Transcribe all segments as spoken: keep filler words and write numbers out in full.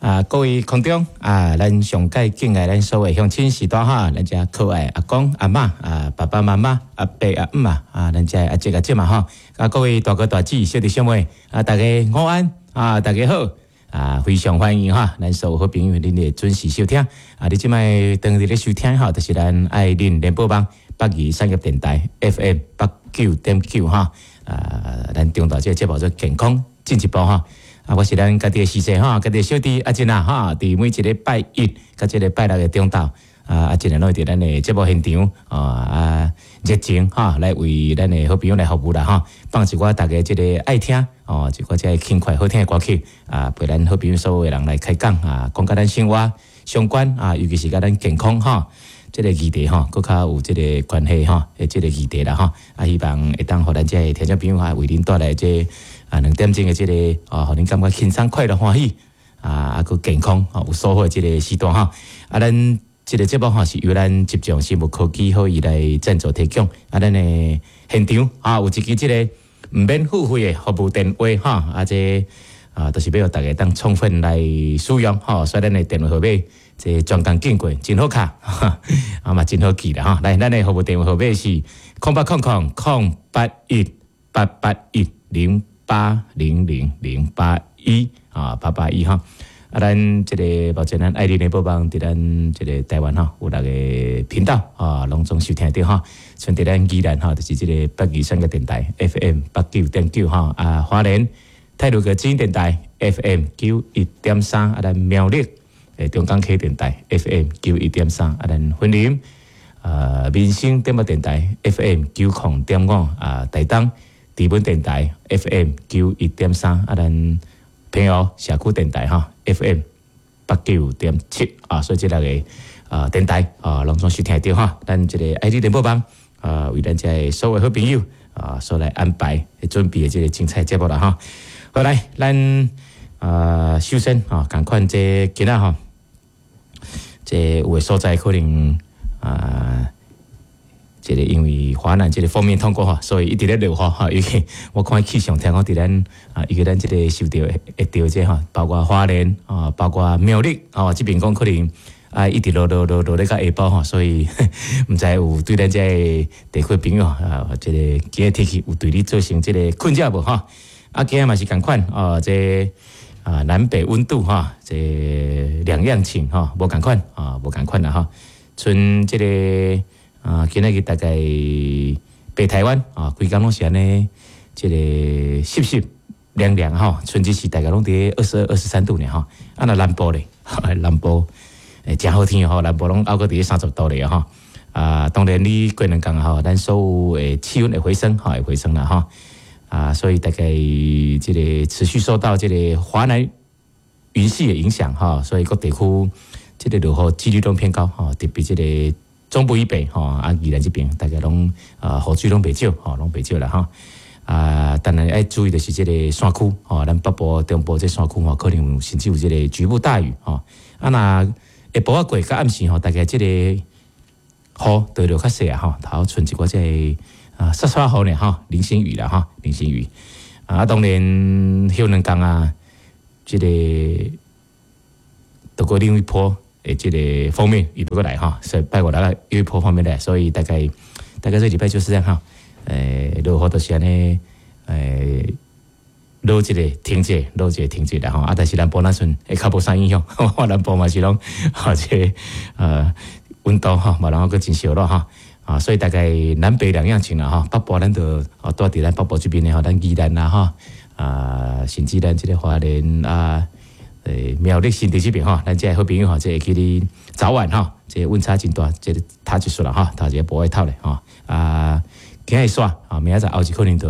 啊，各位空中啊，咱上蓋敬愛咱所有鄉親序大哈，咱遮可愛阿公阿嬤啊，爸爸媽媽阿伯阿姆啊，啊，咱遮阿叔阿姐嘛吼，啊，各位大哥大姊小弟小妹啊，大家午安啊，大家好啊，非常歡迎哈，咱所有好朋友恁的準時收聽啊，你這擺當佇咧收聽吼，就是咱愛鄰聯播網北宜產業電台 F M 八九點九哈，啊，咱中晝這個節目做健康進一步哈。啊，我是咱家己的師姐哈，家己的小弟阿珍啊哈，佇每一個拜一佮這個拜六的中晝，啊阿珍啊，攏會佇咱的節目現場啊啊熱情哈，來為咱的好朋友來服務啦哈，放一寡大家這個愛聽哦，一寡這個輕快好聽的歌曲啊，陪咱好朋友所有的人來開講啊，講佮咱生活相關啊，尤其是佮咱健康哈。這個議題吼，閣較有這個關係吼，的這個議題啦吼，啊，希望會當予咱這個聽眾朋友啊，為恁帶來這啊兩點鐘的這個啊，予恁感覺輕鬆快樂歡喜啊，啊，閣健康吼有收穫的這個時段吼，啊，咱這個節目吼是由咱集眾生物科技好伊來贊助提供，啊，咱的現場啊有一支這個毋免付費的服務電話哈，啊，這啊，就是欲予大家當充分來使用吼，所以咱的電話號碼。這專工經過真好敲，啊嘛真好記啦吼。來，咱的服務電話號碼是空八空空空八一八八一零八零零零八一啊八八一哈。啊，咱這個目前咱愛鄰聯播網佇咱這個台灣吼有六個頻道啊，攏總收聽著吼。像佇咱宜蘭吼，就是這個北宜產業電台 F M 八九點九吼，啊，花蓮太魯閣之音電台 F M 九一點三，啊，咱苗栗誒，中港溪電台 F M 九一點三，啊，咱雲林啊民生點播電台 F M 九零點五，啊，台東知本電台 F M 九一點三，啊，咱平湖社區電台哈 F M 八九點七啊，所以這六個啊電台啊，攏總收聽著哈。咱這個愛鄰聯播網啊，為咱這個所有好朋友啊，所來安排準備的這個精彩節目啦哈。好來，咱啊首先啊，仝款這今仔吼，這有的所在可能啊，這個因為華南這個鋒面通過吼，所以一直咧落雨吼。尤其我看氣象聽講，佇咱啊，尤其咱這個受著會著這吼，包括花蓮啊，包括苗栗哦，這邊講可能啊，一直落落落落咧到下晡吼，所以毋知有對咱這個地區朋友啊，這個今日天氣有對你造成這個困擾無吼？啊，今仔嘛是仝款哦，這啊南北溫度哈，這兩樣情吼，無仝款啊，無仝款啦吼。賰這個啊，今仔日大概北台灣啊，規工攏是按呢，這個濕濕涼涼吼，賰這時大概攏佇二十二、二十三度爾吼。啊，若南部咧，南部會誠好天吼，南部攏猶閣佇三十度咧吼。啊，當然你過兩工吼，咱所有的氣溫會回升，吼，會回升啦吼。啊，所以大概這個持續受到這個華南雲系的影響哈，所以各地區這個落雨幾率攏偏高吼，特別這個中部以北吼，啊宜蘭這邊大概攏啊雨水攏袂少吼，攏袂少啦吼。啊，當然愛注意的是這個山區吼，咱北部、中部這山區吼，可能甚至有這個局部大雨吼。啊，若下晡仔過到暗時吼，大概這個雨就落較細啊吼，頭賰一寡這個啊，沙沙雨呢吼，零星雨啦吼，零星雨。啊，當然歇兩工啊，這個都過另一波的這個鋒面伊過來哈，所以拜五來又一波鋒面來，所以大概大概這禮拜就是這樣哈。誒，落雨就是按呢，誒，落一个停一下，落一个停一下吼。啊，但是南部那陣會較無啥影響，南部嘛是攏啊這個呃溫度吼，嘛然後閣真燒熱吼。啊，所以大概南北兩樣情啦吼。北部咱就哦，住佇咱北部這邊的吼，咱宜蘭啦吼，啊，甚至咱這個花蓮啊，誒苗栗新竹這邊吼，咱這個好朋友吼，這會記得早晚吼，這個溫差真大，這個透一束啦吼，套一個薄外套咧吼。啊，今日煞啊，明仔載後日可能就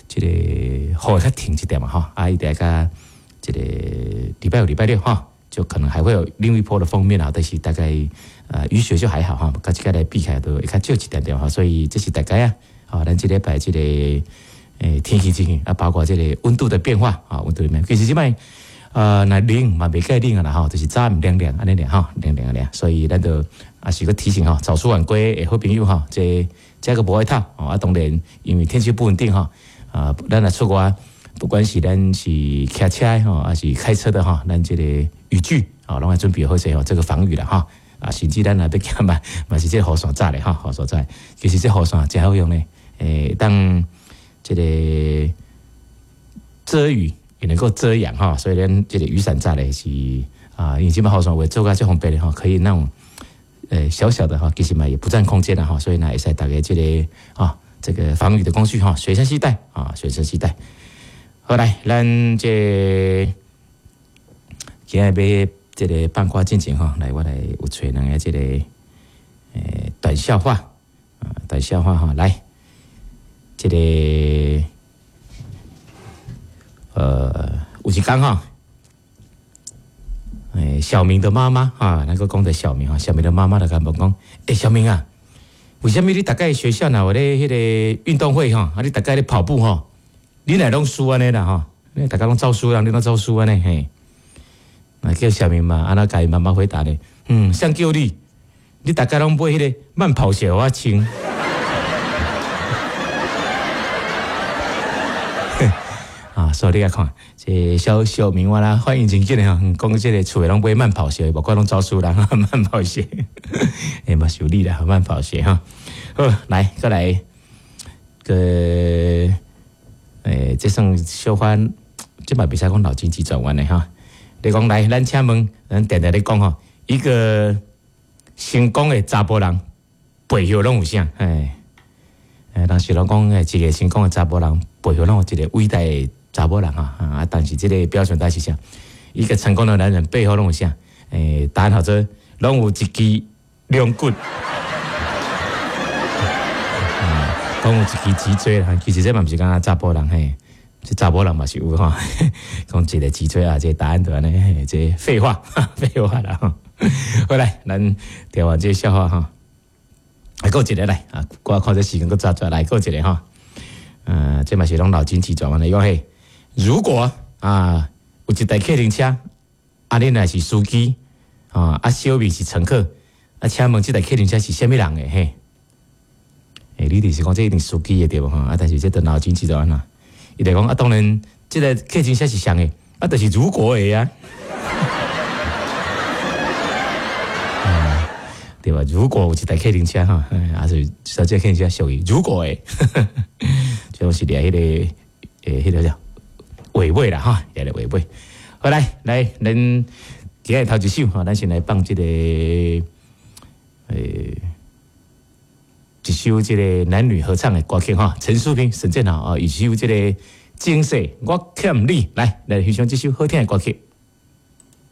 這個雨會較停一點嘛吼，啊，伊得較這個禮拜五、禮拜六吼，就可能還會有另一波的鋒面啊，但是大概呃雨雪就還好哈，佮這個來比起來都會較少一點點哈，所以這是大概啊，好，咱這禮拜這個誒天氣情形啊，包括這個溫度的變化啊，溫度裡面其實這擺呃，若冷嘛袂介冷啊啦吼，就是早暗涼涼按呢爾吼，涼涼爾，所以咱就也是閣提醒吼，早出晚歸的好朋友吼，這加個薄外套哦，啊，當然因為天氣不穩定吼，啊，咱若出外不管是咱是騎車吼，還是開車的吼，咱這個雨具啊，攏愛準備好勢吼，這個防雨啦吼。啊，甚至咱若欲行嘛，嘛是這個雨傘罩咧吼，雨傘罩。其實這雨傘誠好用咧，會當這個遮雨也能夠遮陽哈，所以咱這個雨傘罩咧是啊，因為這擺雨傘會做甲足方便的吼，可以那種呃小小的哈，其實嘛也不佔空間啦哈，所以呢會使大家這個啊這個防雨的工具哈，隨身攜帶啊，隨身攜帶。好來，咱這今日欲這個放歌進前吼，來我來有揣兩个這個欸短笑話啊，短笑話哈，來這個呃有一工吼，欸小明的媽媽啊，咱閣講著小明哈，小明的媽媽就共問講，欸小明啊，為啥物你逐擺學校若有咧彼個運動會吼，啊你逐擺咧跑步吼，你哪攏輸按呢啦吼？你逐擺攏走輸人，你攏走輸按呢嘿？那叫小明嘛，按怎共伊媽媽回答呢？嗯，誰叫你？你逐擺攏買彼個慢跑鞋予我穿。啊，所以你來看，這小小明我啦反應真緊的吼，講這个厝的攏買慢跑鞋，無怪攏走輸人，慢跑鞋，欸嘛是有理啦，慢跑鞋哈。好，來，閣來，閣，欸，這算小可，這嘛袂使講腦筋急轉彎的哈。你講來，咱請問，咱定定咧講吼，一個成功的查埔人背後攏有啥？欸，欸，人是攏講，一個成功的查埔人背後攏有一個偉大的查某人哈啊！但是這個標準答案是啥？一個成功的男人背後攏有啥？欸，答案號做攏有一支龍骨，講有一支脊椎啦。其實這嘛毋是干焦查埔人嘿，這查某人嘛是有吼。講一個脊椎啊，這個答案就按呢，這廢話，廢話啦。好來，咱聽完這個笑話哈，來閣一個來啊！我看這時間閣早早來閣一個哈。嗯，這嘛是攏腦筋急轉彎的。伊講嘿，如果啊有一台客運車，啊你若是司機啊，啊小明是乘客，啊請問這台客運車是啥物人的嘿？欸，你就是講這一定司機的對無吼？啊，但是這就腦筋急轉彎啦。伊就講啊，當然這个客運車是誰的？啊，就是如果的啊。嗯，對吧？如果有一台客運車吼，啊是這客運車屬於如果的，就是掠彼个欸，彼个叫話尾啦哈，掠個話尾。好來來，咱今日頭一首吼，咱先來放這个欸一首這个男女合唱的歌曲哈，陳淑萍、沈建豪啊，一首這个《前世我欠你》，來來欣賞這首好聽的歌曲。